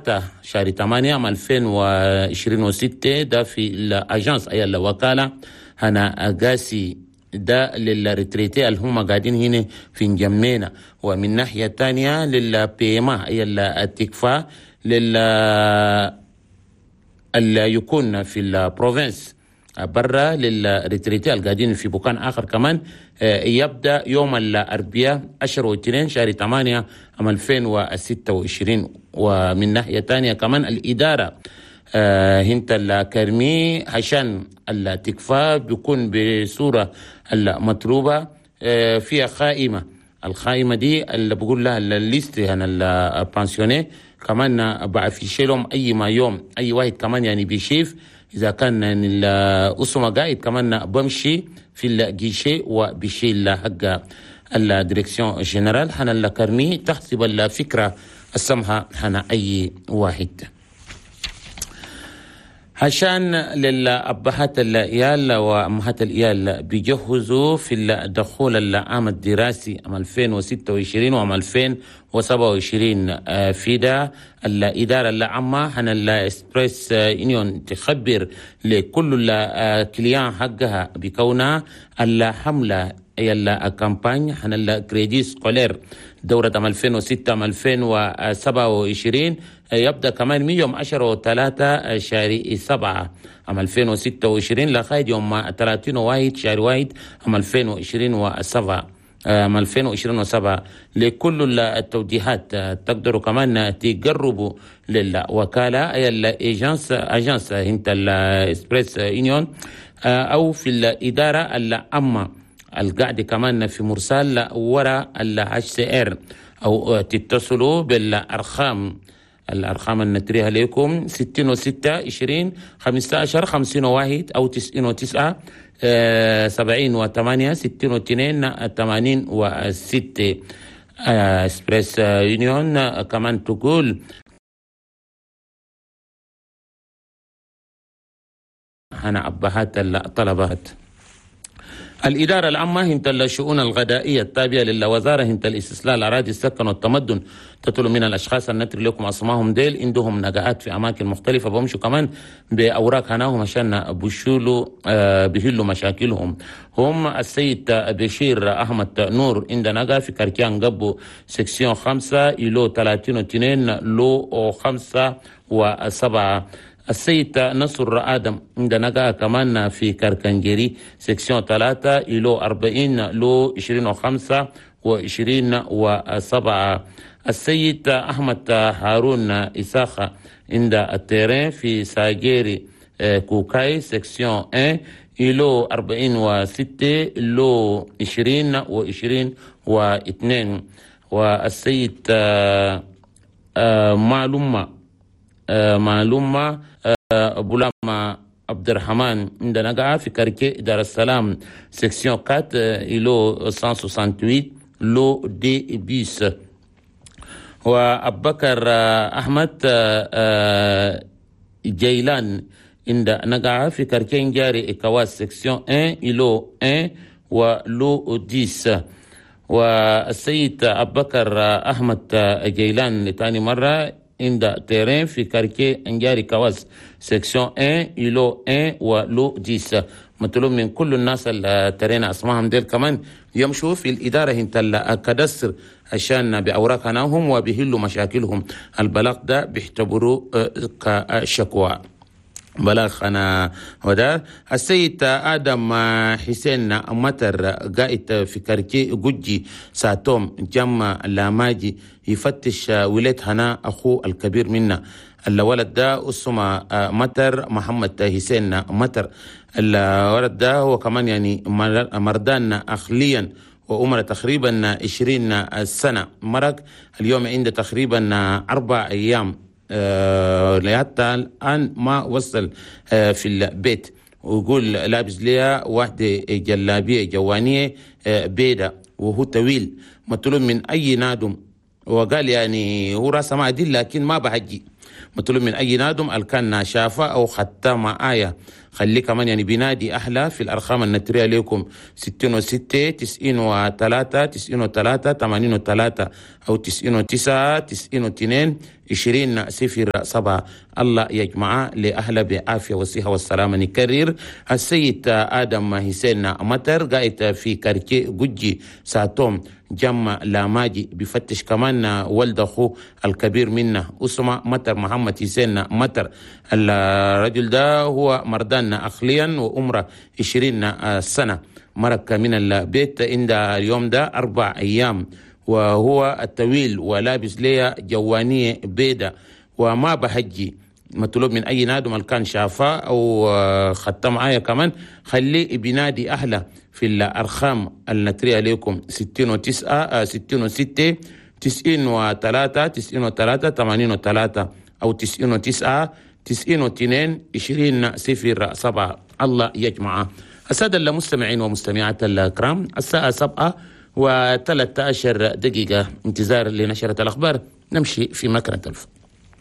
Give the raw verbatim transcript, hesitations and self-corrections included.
ثلاثة شهر ثمانية عام ألفين وعشرين وستة، ده في ال agence أي الوكالة هنا قاسي، ده لل retraités اللي هم قاعدين هنا في نجمينا. ومن ناحية تانية لل paiement أي التكفى لل اللي يكون في ال province برا لل retraités القاعدين في بكان آخر كمان، يبدأ يوم الأربعاء عشرة واثنين شهر ثمانية عام ألفين وستة وعشرين. ومن ناحية تانية كمان الإدارة هنت ال carnet عشان التكفى بيكون بصورة المطلوبة فيها خائمة، الخائمة دي اللي بقول لها ال liste هنا ال pensionnés كمان بعفيش لهم أي ما يوم أي واحد كمان يعني بيشيف إذا كان الأسمة قاعد كمان بمشي في ال guichet وبيشيل حق ال direction générale هنا ال carnet تحسب الفكرة السمحة هنا أي واحد. عشان للأبهات العيال وأمهات العيال بيجهزوا في الدخول العام الدراسي عام ألفين وستة وعشرين وعام ألفين وسبعة وعشرين، في ده الإدارة العامة هنا ال Express Union تخبر لكل ال clients حقها بكونها الحملة أي ال campagne هنا ال crédit scolaire دورة عام ألفين وستة عام ألفين وسبعة وعشرين يبدأ كمان من يوم عشرة وثلاثة شهر سبعة عام ألفين وستة وعشرين لغاية يوم ثلاثين وواحد شهر واحد عام ألفين وعشرين وسبعة عام ألفين وعشرين وسبعة. لكل التوجيهات تقدروا كمان تقربوا للوكالة أي ال agence agence هنت ال Express Union أو في الإدارة العامة القاعدة كمان في مرسال وراء ال HCR، أو تتصلوا بالأرقام الأرقام اللي نتريها لكم ستين وستة عشرين خمسة عشر خمسين وواحد أو تسعين وتسعة سبعين وثمانية ستين واثنين ثمانين وستة. Express Union كمان تقول أنا أبهات الطلبات. الإدارة العامة هنت الشؤون الغذائية التابعة للوزارة هنت الاستصلاح الأراضي السكن والتمدن تطلب من الأشخاص النتر لكم أسمائهم ديل عندهم نجاحات في أماكن مختلفة بمشوا كمان بأوراق هناهم عشان بشولوا آه بيحلوا مشاكلهم. هم السيد بشير أحمد نور عند نجا في quartier قبو section خمسة îlot ثلاثين واثنين lot خمسة وسبعة. السيد نصر آدم عندنا نجا كمان في كركنجري section ثلاثة îlot أربعين lot عشرين وخمسة وعشرين وسبعة. السيد أحمد هارون إساخة عند ال terrain في ساجيري كوكاي section واحد îlot أربعين وستة lot عشرين وعشرين واثنين. والسيد معلومة معلومة بولاما عبد الرحمن عندنا نقع في quartier دار السلام section أربعة îlot مية وثمانية وستين lot deux bis. وأبكر أحمد جيلان عند نقع في quartier جاري إكواس section واحد îlot واحد و lot عشرة. والسيد أبكر أحمد جيلان لتاني مرة عند terrain في quartier انجاري كواس section واحد îlot واحد و lot عشرة. مطلوب من كل الناس اللي terrain اسمائهم ديل كمان يمشوا في الإدارة هنت ال cadastre عشان بأوراق هناهم وبيهلوا مشاكلهم. البلاغ ده بيعتبروه كشكوى بلاغ أنا وده. السيد آدم حسين متر قائد في quartier جوجي ساتوم جمع لاماجي يفتش ولاد هنا أخوه الكبير منا. الولد ده اسمه متر محمد حسين متر. الولد ده هو كمان يعني مردان أخليا وعمره تقريبا عشرين سنة. مرق اليوم عنده تقريبا أربع أيام حتى الآن ما وصل في البيت. ويقول لابس ليها واحدة جلابية جوانية بيضة وهو طويل مطلوب من أي نادم. وقال يعني هو راسه ما عدل لكن ما بحجي. مطلوب من أي نادم الكان شافه أو حتى معايا خليه كمان يعني بينادي أهله في الأرقام النترية لكم ستين وستة تسعين وثلاثة تسعين وثلاثة ثمانين وثلاثة أو تسعين وتسعة تسعين واثنين عشرين صفر سبعة. الله يجمع لأهله بعافية والصحة والسلامة. نكرر السيد آدم حسين مطر قاعد في quartier جوجي ساتوم جمع لاماجي، بفتش كمان ولد أخوه الكبير منا أسمة مطر محمد حسين مطر. الرجل ده هو مردان عقليا وعمره عشرين سنة، مرق من البيت عند اليوم ده أربع أيام، وهو الطويل ولابس ليه جوانية بيضة وما بحجي. مطلوب من أي نادم كان شافاه أو خدت معايا كمان خليه بينادي أهله في الأرقام النترية لكم ستين وتسعة ستين وستة تسعين وثلاثة تسعين وثلاثة ثمانين وثلاثة أو تسعين وتسعة تسعين واثنين عشرين صفر سبعة. الله يجمع السادة المستمعين ومستمعات الكرام. الساعة سبعة وثلاثة عشر دقيقة انتظار لنشرة الأخبار. نمشي في مكنة الف.